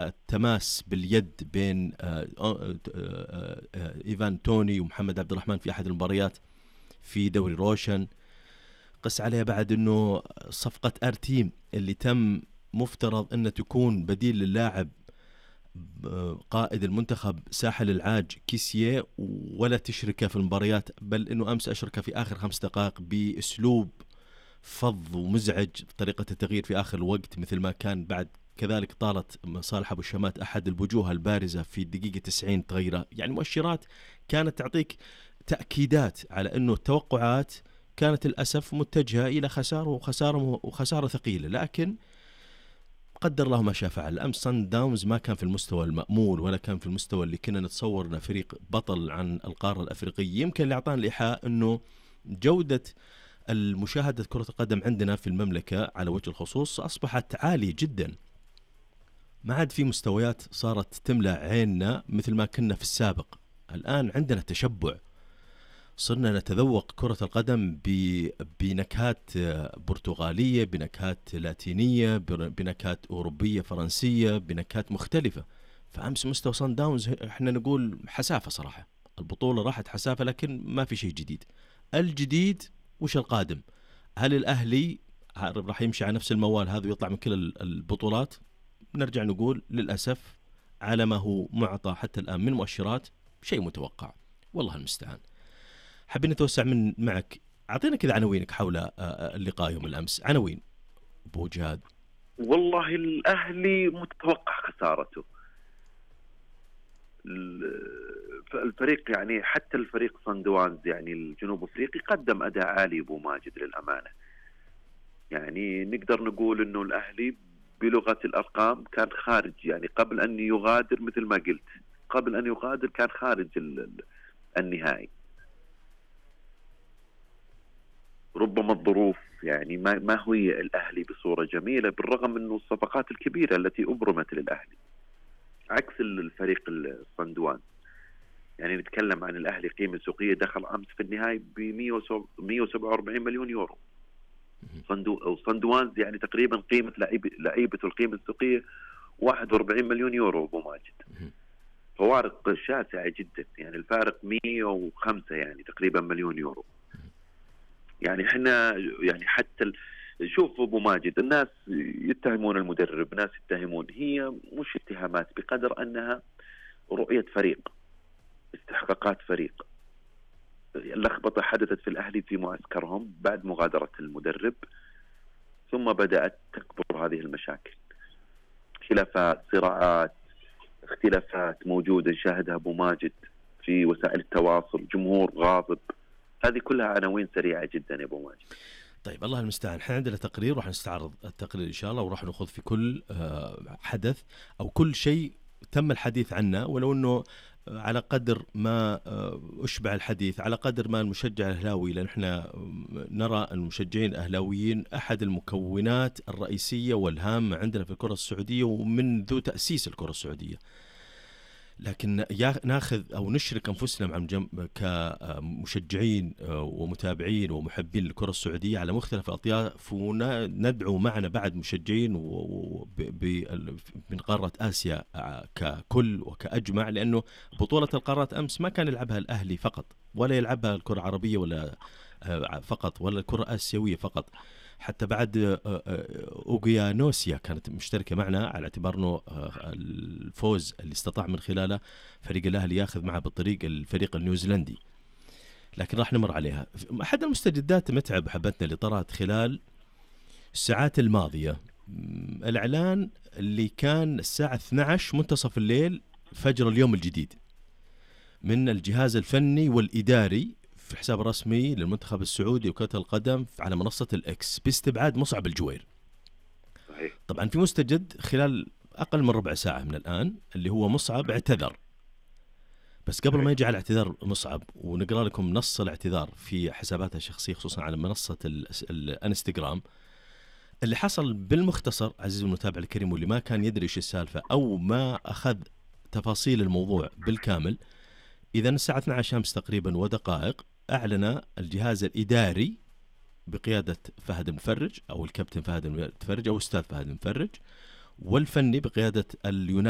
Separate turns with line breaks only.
التماس باليد بين إيفان توني ومحمد عبد الرحمن في أحد المباريات في دوري روشن. قس عليها بعد أنه صفقة أرتيم اللي تم مفترض أن تكون بديل للاعب قائد المنتخب ساحل العاج كيسيه، ولا تشركه في المباريات، بل أنه أمس أشركه في آخر 5 دقائق بأسلوب فظ ومزعج بطريقة التغيير في آخر الوقت مثل ما كان. بعد كذلك طالت صالح أبو الشمات أحد الوجوه البارزة في الدقيقة 90 تغيره. يعني مؤشرات كانت تعطيك تأكيدات على أنه التوقعات كانت للأسف متجهة إلى وخسارة ثقيلة، لكن قدر الله ما شاء فعل. أمس صن داونز ما كان في المستوى المأمول ولا كان في المستوى اللي كنا نتصور أنه فريق بطل عن القارة الأفريقية. يمكن اللي أعطانا الإيحاء أنه جودة المشاهدة كرة القدم عندنا في المملكة على وجه الخصوص أصبحت عالية جدا، ما عاد في مستويات صارت تملأ عيننا مثل ما كنا في السابق. الآن عندنا تشبع، صرنا نتذوق كرة القدم بنكهات برتغالية، بنكهات لاتينية، بنكهات أوروبية فرنسية، بنكهات مختلفة. فأمس مستوى صن داونز احنا نقول حسافة صراحة، البطولة راحت حسافة، لكن ما في شيء جديد. الجديد وش القادم؟ هل الأهلي راح يمشي على نفس الموال هذا ويطلع من كل البطولات؟ نرجع نقول للأسف على ما هو معطى حتى الآن من مؤشرات شيء متوقع، والله المستعان. حابين نتوسع معك، أعطينا كذا عناوينك حول اللقاء يوم الأمس. عناوين أبو جهاد.
والله الأهلي متوقع خسارته. الفريق يعني حتى الفريق صن داونز يعني الجنوب افريقي قدم اداء عالي ابو ماجد للامانه. يعني نقدر نقول انه الاهلي بلغه الارقام كان خارج، يعني قبل ان يغادر مثل ما قلت، قبل ان يغادر كان خارج النهائي. ربما الظروف يعني ما هي الاهلي بصوره جميله، بالرغم انه الصفقات الكبيره التي ابرمت للاهلي عكس الفريق الصن داونز. يعني نتكلم عن الأهلي قيمة سوقية دخل أمس في النهاية ب 147 مليون يورو. صن داونز يعني تقريبا قيمة لعيبة القيمة السوقية 41 مليون يورو أبو ماجد. فوارق شاسعة جدا، يعني الفارق 105 يعني تقريبا مليون يورو. يعني احنا يعني حتى شوف أبو ماجد، الناس يتهمون المدرب، ناس يتهمون، هي مش اتهامات بقدر أنها رؤية فريق، استحقاقات فريق. اللخبطة حدثت في الأهلي في معسكرهم بعد مغادرة المدرب، ثم بدأت تكبر هذه المشاكل، خلافات، صراعات، اختلافات موجودة نشاهدها أبو ماجد في وسائل التواصل، جمهور غاضب. هذه كلها عناوين سريعة جدا يا أبو ماجد.
طيب الله المستعان. احنا عندنا تقرير راح نستعرض التقرير إن شاء الله، وراح نأخذ في كل حدث أو كل شيء تم الحديث عنه، ولو أنه على قدر ما أشبع الحديث، على قدر ما المشجع الأهلاوي، لأن احنا نرى المشجعين الأهلاويين أحد المكونات الرئيسية والهامة عندنا في الكرة السعودية ومنذ تأسيس الكرة السعودية. لكن ناخذ أو نشرك أنفسنا مع كمشجعين ومتابعين ومحبين للكرة السعودية على مختلف الأطياف، وندعو معنا بعد مشجعين من قارة آسيا ككل وكأجمع، لأنه بطولة القارات أمس ما كان يلعبها الأهلي فقط، ولا يلعبها الكرة العربية ولا فقط، ولا الكرة الآسيوية فقط. حتى بعد أوغيانوسيا كانت مشتركة معنا، على اعتبار أنه الفوز اللي استطاع من خلاله فريق الأهلي ياخذ معه بالطريق الفريق النيوزيلندي. لكن راح نمر عليها. أحد المستجدات متعب حبتنا اللي طرأت خلال الساعات الماضية، الإعلان اللي كان الساعة 12 منتصف الليل فجر اليوم الجديد من الجهاز الفني والإداري في حساب رسمي للمنتخب السعودي وكرة القدم على منصة الإكس باستبعاد مصعب الجوير.
صحيح.
طبعا في مستجد خلال أقل من ربع ساعة من الآن، اللي هو مصعب اعتذر. بس قبل ما يجي على اعتذار مصعب، ونقرأ لكم نص الاعتذار في حساباتها الشخصية خصوصا على منصة الانستغرام، اللي حصل بالمختصر عزيزي المتابع الكريم واللي ما كان يدري ايش السالفة أو ما أخذ تفاصيل الموضوع بالكامل. إذا الساعة 12 أمس تقريبا ودقائق أعلن الجهاز الإداري بقيادة فهد المفرج أو الكابتن فهد المفرج أو أستاذ فهد المفرج والفني بقيادة اليوناني